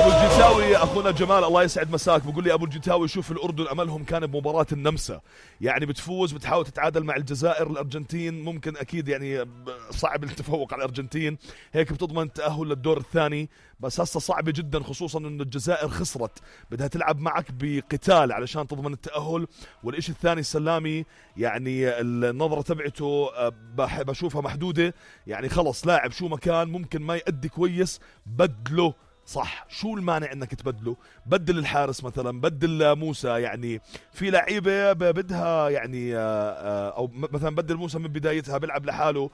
ابو الجتاوي اخونا جمال الله يسعد مساك بقول لي ابو الجتاوي شوف الاردن املهم كان بمباراه النمسا، يعني بتفوز بتحاول تتعادل مع الجزائر، الارجنتين ممكن اكيد يعني صعب التفوق على الارجنتين، هيك بتضمن التاهل للدور الثاني، بس هسه صعبه جدا خصوصا انه الجزائر خسرت، بدها تلعب معك بقتال علشان تضمن التاهل. والشيء الثاني السلامي يعني النظره تبعته بشوفها محدوده، يعني خلص لاعب شو مكان ممكن ما يأدي كويس بدله صح، شو المانع انك تبدله؟ بدل الحارس مثلا، بدل موسى، يعني في لعيبه بدها يعني او مثلا بدل موسى من بدايتها بيلعب لحاله،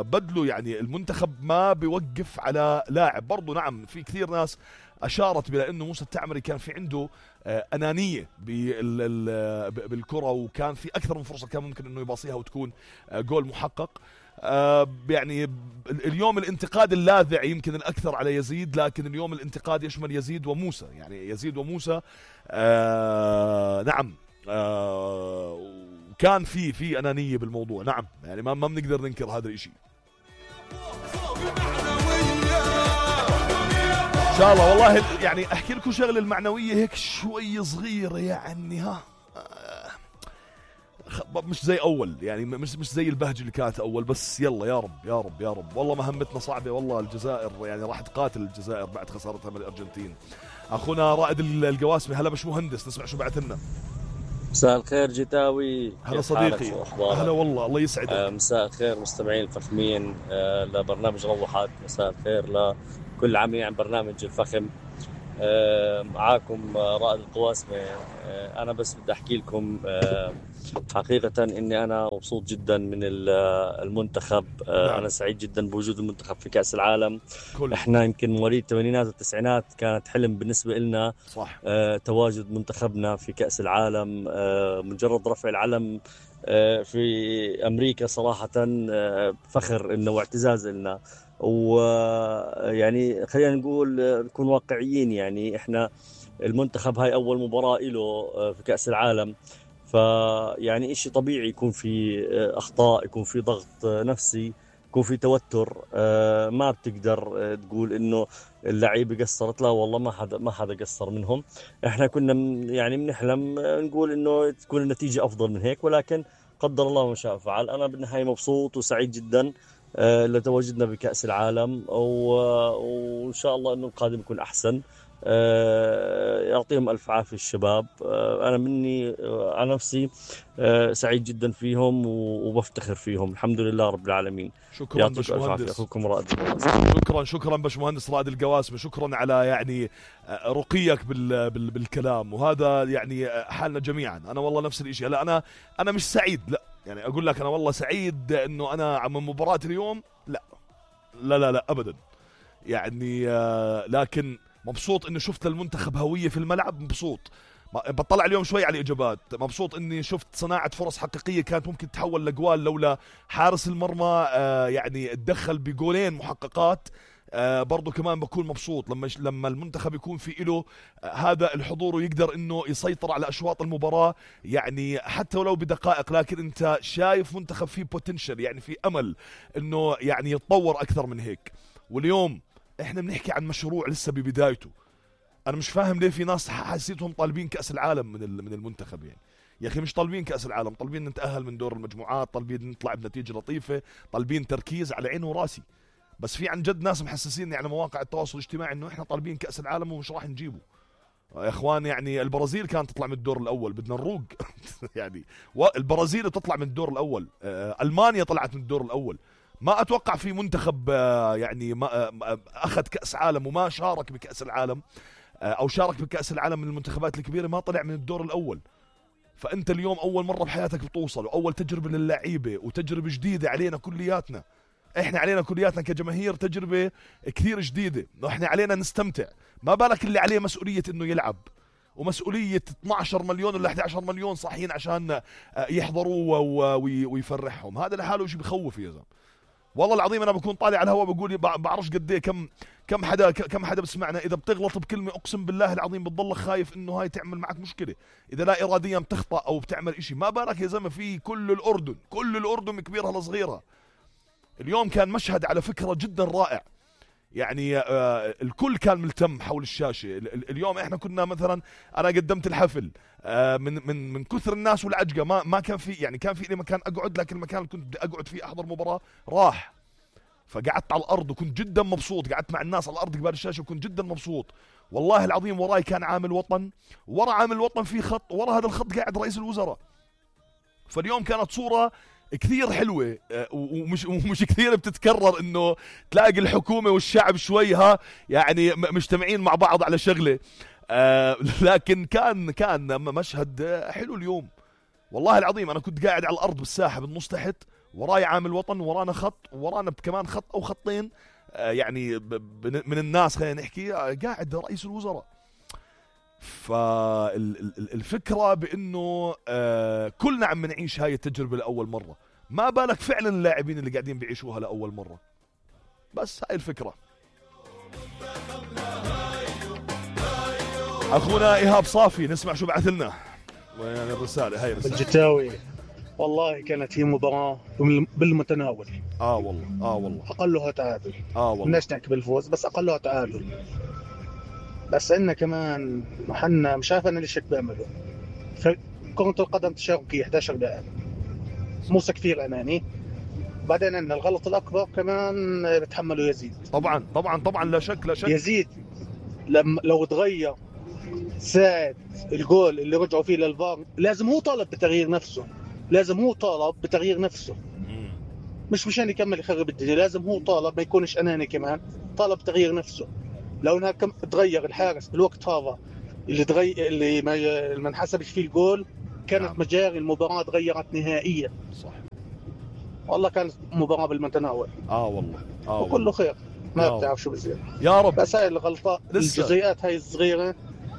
بدله. يعني المنتخب ما بيوقف على لاعب برضه. نعم في كثير ناس اشارت بلا انه موسى التعمري كان في عنده انانيه بالكره، وكان في اكثر من فرصه كان ممكن انه يباصيها وتكون جول محقق. يعني اليوم الانتقاد اللاذع يمكن الأكثر على يزيد، لكن اليوم الانتقاد يشمل يزيد وموسى، يعني يزيد وموسى نعم وكان في أنانية بالموضوع. نعم يعني ما بنقدر ننكر هذا الشيء. إن شاء الله والله يعني أحكي لكم شغلة المعنوية هيك شوي صغيرة، يعني ها مش زي اول، يعني مش زي البهجه اللي كانت اول، بس يلا يا رب يا رب يا رب. والله مهمتنا صعبه، والله الجزائر يعني راح تقاتل الجزائر بعد خسارتها من الارجنتين. اخونا رائد القواسمي هلا مش مهندس، نسمع شو بعث لنا. مساء الخير جتاوي، هلا صديقي، هلا والله الله يسعدك. مساء الخير مستمعين الفخمين لبرنامج روحات، مساء الخير لكل عاملين عن برنامج الفخم. معاكم رائد القواسمة. أنا بس بدي أحكي لكم حقيقة إني أنا مبسوط جدا من المنتخب. أنا سعيد جدا بوجود المنتخب في كأس العالم. إحنا يمكن مواليد الثمانينات والتسعينات كانت حلم بالنسبة لنا صح. تواجد منتخبنا في كأس العالم. مجرد رفع العلم في أمريكا صراحة فخر إنه واعتزاز لنا. ويعني خلينا نقول نكون واقعيين، يعني احنا المنتخب هاي اول مباراة له في كأس العالم، فيعني اشي طبيعي يكون في اخطاء، يكون في ضغط نفسي، يكون في توتر. ما بتقدر تقول انه اللعيبه قصرت، لا والله ما حدا قصر منهم. احنا كنا يعني بنحلم نقول انه تكون النتيجة افضل من هيك، ولكن قدر الله ما شاء فعل. انا بالنهاية مبسوط وسعيد جدا لتواجدنا بكأس العالم، وإن شاء الله إنه القادم يكون أحسن. يعطيهم ألف عافية الشباب. أنا مني على نفسي سعيد جدا فيهم وبفتخر فيهم، الحمد لله رب العالمين. شكرا باشمهندس، أخوكم رائد. شكرا باشمهندس رائد القواسم، شكرا على يعني رقيك بالكلام، وهذا يعني حالنا جميعا. أنا والله نفس الشيء. هلا أنا مش سعيد، لا يعني أقول لك أنا والله سعيد إنه أنا من مباراة اليوم لا لا لا لا أبدا، يعني لكن مبسوط إنه شفت المنتخب هوية في الملعب، مبسوط. بطلع اليوم شوي على الإجابات، مبسوط إني شفت صناعة فرص حقيقية كانت ممكن تتحول لجوال لولا حارس المرمى يعني اتدخل بجولين محققات. برضو كمان بكون مبسوط لما المنتخب يكون في إله هذا الحضور ويقدر إنه يسيطر على أشواط المباراة، يعني حتى ولو بدقائق، لكن أنت شايف منتخب فيه بوتنشل، يعني في أمل إنه يعني يتطور أكثر من هيك. واليوم إحنا بنحكي عن مشروع لسه ببدايته. أنا مش فاهم ليه في ناس حسيتهم طالبين كأس العالم من المنتخب. يعني يا أخي مش طالبين كأس العالم، طالبين نتأهل من دور المجموعات، طالبين نطلع بنتيجة لطيفة، طالبين تركيز على عيني وراسي. بس في عن جد ناس محسسين يعني مواقع التواصل الاجتماعي انه احنا طالبين كأس العالم ومش راح نجيبه. يا اخوان يعني البرازيل كانت تطلع من الدور الاول، بدنا نروق يعني البرازيل تطلع من الدور الاول، المانيا طلعت من الدور الاول. ما اتوقع في منتخب يعني ما اخذ كأس عالم وما شارك بكأس العالم او شارك بكأس العالم من المنتخبات الكبيرة ما طلع من الدور الاول. فانت اليوم اول مرة بحياتك بتوصل، واول تجربة للعيبة وتجربة جديدة علينا كلياتنا. احنا علينا كلياتنا كجماهير تجربة كثير جديدة، واحنا علينا نستمتع. ما بالك اللي عليه مسؤولية انه يلعب، ومسؤولية 12 مليون ولا 11 مليون صاحيين عشان يحضروا ويفرحهم. هذا لحاله شيء بخوف يا زلمة. والله العظيم انا بكون طالع على الهواء بقول بعرفش قد ايه كم حدا بسمعنا، اذا بتغلط بكلمة اقسم بالله العظيم بتضلك خايف انه هاي تعمل معك مشكلة اذا لا اراديا بتخطأ او بتعمل اشي. ما بالك يا زلمة في كل الاردن كبيرها لصغيرها. اليوم كان مشهد على فكرة جدا رائع، يعني الكل كان ملتم حول الشاشة. اليوم احنا كنا مثلا انا قدمت الحفل من كثر الناس والعجقة ما كان في، يعني كان في لي مكان اقعد، لكن المكان اللي كنت بدي اقعد فيه احضر مباراة راح، فقعدت على الارض وكنت جدا مبسوط. قعدت مع الناس على الارض قبال الشاشة وكنت جدا مبسوط والله العظيم. وراي كان عامل وطن، ورا عامل الوطن في خط، ورا هذا الخط قاعد رئيس الوزراء. فاليوم كانت صورة كثير حلوة ومش كثير بتتكرر انه تلاقي الحكومة والشعب شوي يعني مجتمعين مع بعض على شغلة. لكن كان مشهد حلو اليوم والله العظيم. انا كنت قاعد على الارض بالساحة بالنص تحت، وراي عامل وطن، ورانا خط، ورانا كمان خط او خطين يعني من الناس خلينا نحكي قاعد رئيس الوزراء. فالفكرة بأنه كلنا عم نعيش هاي التجربة لأول مرة، ما بالك فعلا اللاعبين اللي قاعدين بيعيشوها لأول مرة. بس هاي الفكرة. أخونا إيهاب صافي نسمع شو بعث لنا يعني الرسالة. هاي رسالة الجتاوي. والله كانت هي مباراة بالمتناول. والله أقلها تعادل. والله بدناش نحكي بالفوز، بس أقلها تعادل. بس عندنا كمان محنا مش عارف أنا ليش هيك بيعملوا. كرة القدم تشاركية 11 لاعب، موسى كثير أماني. بعدين عندنا الغلط الأكبر كمان بتحمله يزيد. طبعا لا شك يزيد لو تغير ساعة الجول اللي رجعوا فيه للفار، لازم هو طالب بتغيير نفسه. مش مشان يكمل يخرب الدنيا، لازم هو طالب، ما يكونش أناني كمان، طالب تغيير نفسه. لو انها تغير الحارس بالوقت هذا اللي ما انحسبش فيه الجول، كانت مجاري المباراة تغيرت نهائيا. صح والله كانت مباراة بالمتناول. والله وكله خير، ما بتعرف شو بصير يا رب. بس هاي الغلطات الجزئيات هاي الصغيرة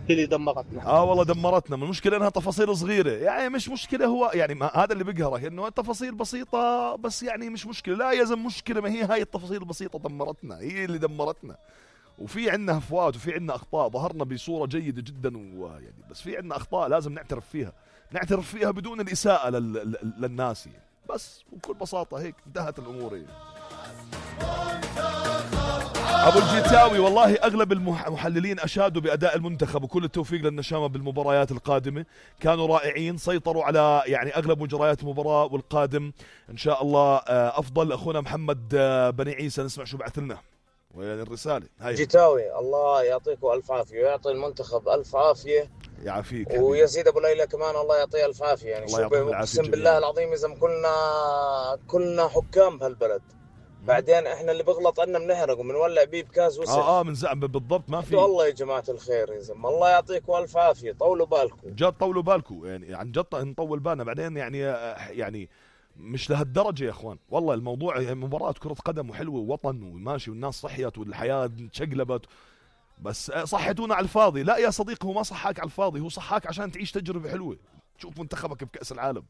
هي اللي دمرتنا. والله دمرتنا. من المشكلة انها تفاصيل صغيرة، يعني مش مشكلة، هو يعني هذا اللي بيقهرك انه التفاصيل بسيطة، بس يعني مش مشكلة. لا يزم مشكلة، ما هي هاي التفاصيل البسيطة دمرتنا، هي اللي دمرتنا. وفي عندنا هفوات وفي عندنا اخطاء، ظهرنا بصورة جيدة جدا ويعني بس في عندنا اخطاء لازم نعترف فيها بدون الاساءة للناس يعني. بس بكل بساطة هيك انتهت الامور يعني. ابو الجيتاوي والله اغلب المحللين اشادوا باداء المنتخب، وكل التوفيق للنشامة بالمباريات القادمة، كانوا رائعين، سيطروا على يعني اغلب مجريات المباراة، والقادم ان شاء الله افضل. اخونا محمد بني عيسى نسمع شو بعث لنا وين الرسالة. هاي جيتاوي الله يعطيكم الف عافية ويعطي المنتخب الف عافية يعافيك، ويزيد ابو ليلى كمان الله يعطيه الف عافية. يعني شوف اقسم بالله العظيم اذا كلنا حكام بهالبلد، بعدين احنا اللي بغلط عنا بنهرق وبنولع بيه بكاز وسخ. من زعم بالضبط ما في. والله يا جماعة الخير يا زلمة الله يعطيكم الف عافية، طولوا بالكم يعني عن جد نطول بالنا بعدين يعني مش لهالدرجة يا اخوان. والله الموضوع مباراة كرة قدم وحلوة ووطن وماشي والناس صحيت والحياة تشقلبت، بس صحتونا على الفاضي. لا يا صديقي، هو ما صحاك على الفاضي، هو صحاك عشان تعيش تجربة حلوة، تشوف منتخبك بكأس العالم.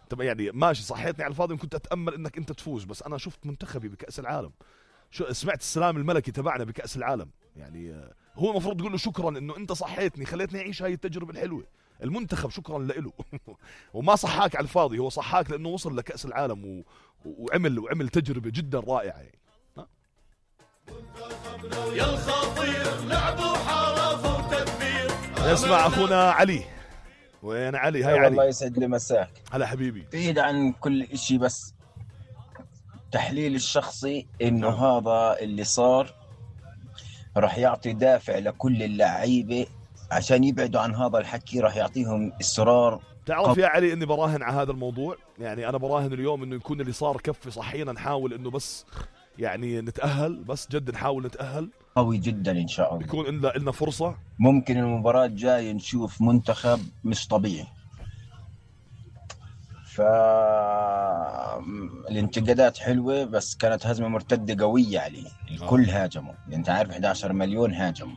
طب يعني ماشي صحيتني على الفاضي وكنت اتامل انك انت تفوز، بس انا شفت منتخبي بكأس العالم، سمعت السلام الملكي تبعنا بكأس العالم. يعني هو المفروض تقول له شكرا انه انت صحيتني خليتني اعيش هاي التجربة الحلوة. المنتخب شكرا له وما صحاك على الفاضي، هو صحاك لانه وصل لكأس العالم وعمل تجربة جدا رائعة يعني. يا الخطير لعبوا حرف وتدبير. اسمع اخونا علي. وين علي؟ هاي علي. الله يسعد لي مساك. هلا حبيبي. بعيد عن كل اشي، بس تحليل الشخصي انه هذا اللي صار راح يعطي دافع لكل اللعيبة عشان يبعدوا عن هذا الحكي، راح يعطيهم إصرار. تعرف يا علي اني براهن على هذا الموضوع، يعني انا براهن اليوم انه يكون اللي صار كفي صحينا، نحاول انه بس يعني نتأهل، بس جد نحاول نتأهل قوي جدا ان شاء الله. يكون لنا فرصة. ممكن المباراة الجاية نشوف منتخب مش طبيعي. فالانتقادات حلوة، بس كانت هزمة مرتدة قوية عليه، الكل هاجموا، انت عارف 11 مليون هاجموا.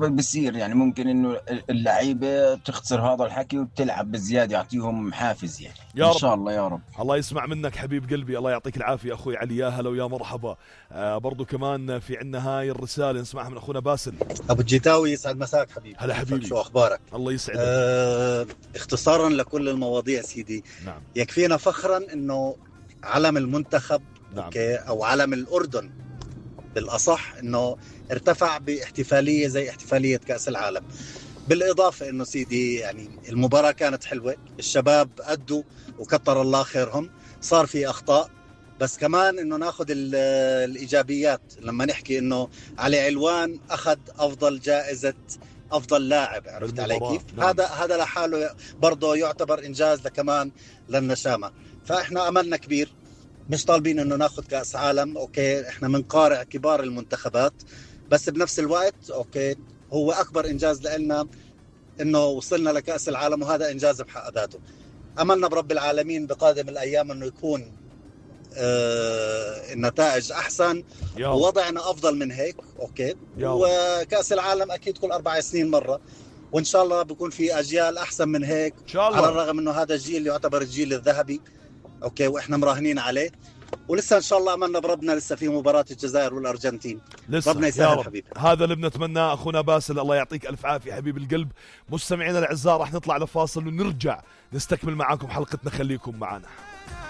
بصير يعني ممكن انه اللعيبه تخسر هذا الحكي وتلعب بزياده، يعطيهم حافز يعني ان شاء الله. يا رب الله يسمع منك حبيب قلبي، الله يعطيك العافيه اخوي علي. يا هلا ويا مرحبا. برضو كمان في عندنا هاي الرساله نسمعها من اخونا باسل. ابو الجيتاوي يسعد مساك حبيبي. هلا حبيبي، شو اخبارك؟ الله يسعدك. اختصارا لكل المواضيع سيدي، نعم. يكفينا فخرا انه علم المنتخب نعم. او علم الاردن بالأصح أنه ارتفع باحتفالية زي احتفالية كأس العالم. بالإضافة أنه سيدي يعني المباراة كانت حلوة، الشباب أدوا وكتر الله خيرهم، صار في أخطاء، بس كمان أنه ناخد الإيجابيات لما نحكي أنه علي علوان أخذ أفضل جائزة أفضل لاعب، عرفت علي كيف؟ نعم. هذا لحاله برضه يعتبر إنجاز كمان للنشامة. فإحنا أملنا كبير، مش طالبين أنه ناخد كأس عالم، أوكي إحنا منقارع كبار المنتخبات، بس بنفس الوقت أوكي هو أكبر إنجاز لنا إنه وصلنا لكأس العالم، وهذا إنجاز بحق ذاته. أملنا برب العالمين بقادم الأيام إنه يكون النتائج أحسن ووضعنا أفضل من هيك، أوكي. وكأس العالم أكيد كل 4 سنين مرة، وإن شاء الله بيكون في أجيال أحسن من هيك إن شاء الله. على الرغم إنه هذا الجيل يعتبر الجيل الذهبي، أوكي، وإحنا مراهنين عليه، ولسه إن شاء الله أملنا بربنا لسه في مباراة الجزائر والأرجنتين، ربنا يسهل حبيبي. هذا اللي بنتمناه أخونا باسل، الله يعطيك ألف عافية حبيب القلب. مستمعينا الأعزاء راح نطلع لفاصل ونرجع نستكمل معاكم حلقتنا، خليكم معنا.